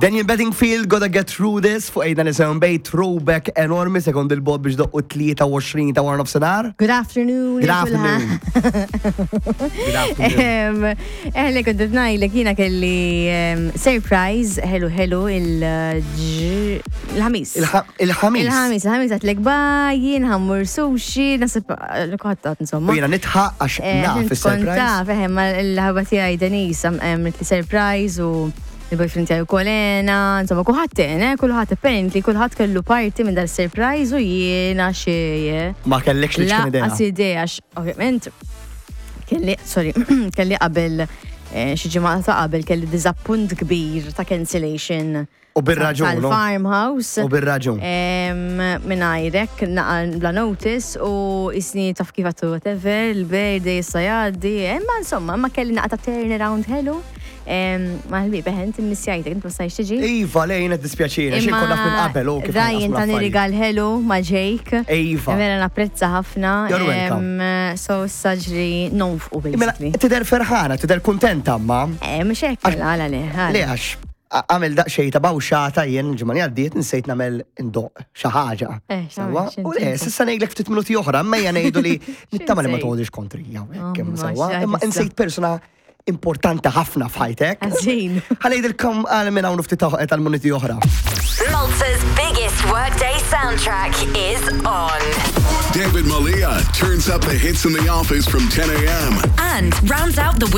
Daniel Bedingfield, Gotta Get Through This, fuq ejna nisewn bej throwback enormi sekond il-bot biex doqqu 23 ta' wara nofsinhar. Good afternoon. Good afternoon. Good afternoon. Eħle kont qed ngħidlek jiena kelli surprise ħelu ħelu il-ħamis. Il-ħamis. Il-ħamis, il-ħamis għatlek bye, jien ħammur sushi, nasib kħattat insomma. U jiena nitħaq għax naf is-surprise. Taf, eħe, ma l-ħabba tiegħi Denise għamlet li surprise u il-boyfriend tiegħi wkoll għena, insomma kulħadd għen, eh, kulħadd apparently kulħadd kellu parti minn dal-surprise u jiena xejn. Ma kellekx li ċkien idea. Lanqas idea għax ovvjament kelli, sorry, kelli qabel xi ġimgħa ta' qabel kelli diżappunt kbir ta' cancellation. U bir-raġun, no? Tal-farmhouse. U bir-raġun. Mingħajrek, naqa' bla notice u isni taf kif għattu whatever, il-birthday issa jgħaddi, imma insomma, ma kelli naqa' ta' turnaround ħelu. Ma ħbieb, eħe, inti missjajtek, inti ma stajtx tiġi. Iva, le, jiena dispjaċini, xi nkun naf minn qabel, u kif Ryan naqsmu tani l-affarijiet. rigal ħelu ma' Jake. Iva. Vera napprezza ħafna. You're welcome. So issa ġri nonfqu Mela, basically. tidher ferħana, tidher kuntenta ma. Mhux hekk, mela, għala le, għala. Le, għax għamel daqsxejn ta' bawxata jien ġimgħa li għaddiet nsejt nagħmel indoq xi ħaġa. Xi Sewwa? ħaġa, U le, x'inti? s'issa ngħidlek ftit minuti oħra, imma ejja ngħidu li nittama li ma X'insejt? toħodix kontrija, hekk, Oh, ma sewwa? x'għad Imma issa. insejt persuna importanti ħafna f'ħajtek. Ħażin. Ħa ngħidilkom għal minn hawn ftit tal-minuti oħra. Malta's biggest workday soundtrack is on. David Malia turns up the hits in the office from 10 a.m. And rounds out the week.